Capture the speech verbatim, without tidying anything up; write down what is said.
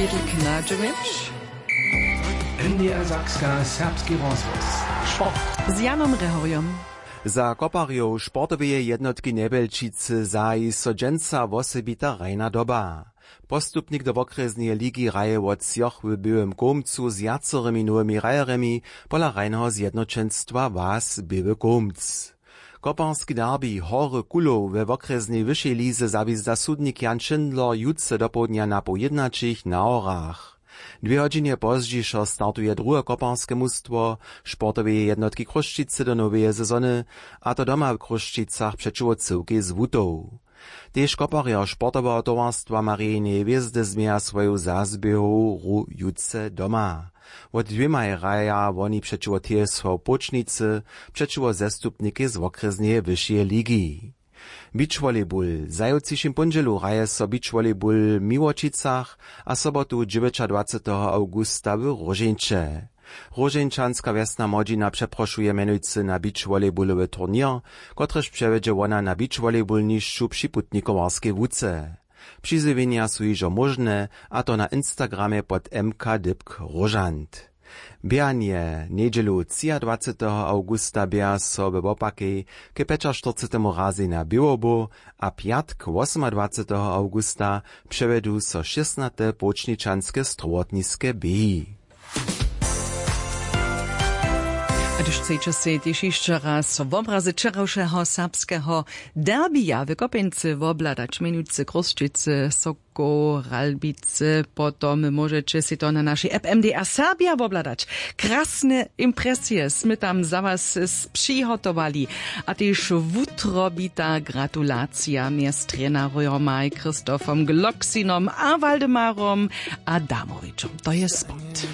Knadźewicz. N D R Sakska, serbski rozhłos. Sport. Z Janom Rehorjom. Za koparjow sportoweje jednotki Njebjelčicy zahaji so dźensa wosebita hrajna doba. Postupnik do wokrjesneje ligi hraje wot třoch w Běłym Kołmcu z wjacorymi nowymi hrajerjemi pola hrajneho zjednoćenstwa Was Běły Kołmc. Koparski derbi Hory Kulow we wokrjesnej wyšej lize zawězda sudnik Jan Schindler jutře dopołdnja na poł jědnaćich na Horach. Dwě hodźinje pozdźišo startuje druhe koparske mustwo sportoweje jednotki Chrósćicy do noweje sezony, a to doma w Chrósćicach přećiwo Cyłkej z Wutow. Tež koparjo sportoweho towarstwa Marineje hwězdy změja swoju zazběhowu hru jutře doma. Wot dwěmaj hraja woni přećiwo T S V Płóčnicy, přećiwo zestupnikej z wokrjesneje wyšeje ligi. Beachvolleyball. W zajawcišim póndźělu hraje so beachvolleyball w Miłočicach a sobotu dźewjećadwaceteho awgusta w Róžeńće. Róžeńčanska wjesna młodźina přeprošuje mjenujcy na beachvolleyballowy turněr, kotryž přewjedźe wona na beachvolleyballnišću při putnikowarskej łuce. Přizjewjenja su hižo móžne, a to na Instagramje pod M K dypk róžant. Běhanje. Njedźelu třiadwaceteho awgusta běha so we wopakej k pjećaštyrcetemu razej na Běłobu a pjatk wosomadwaceteho awgusta přewjedu so šěsnate płóčničanske strowotniske běhi. A hdyž chceće sej tež hišće raz wobrazy wčerawšeho serbskeho derbija w Kopjeńcy wobhladać, mjenujcy Chrósćicy, Sokoł, Ralbicy, potom móžeće sej to na našej app M D R Serbia wobhladać. Krasne impresije smy tam za was s-, přihotowali. A tež wutrobita gratulacija mjez trenerjomaj Christophom Gloxinom a Waldemarom Adamowičom. To je sport.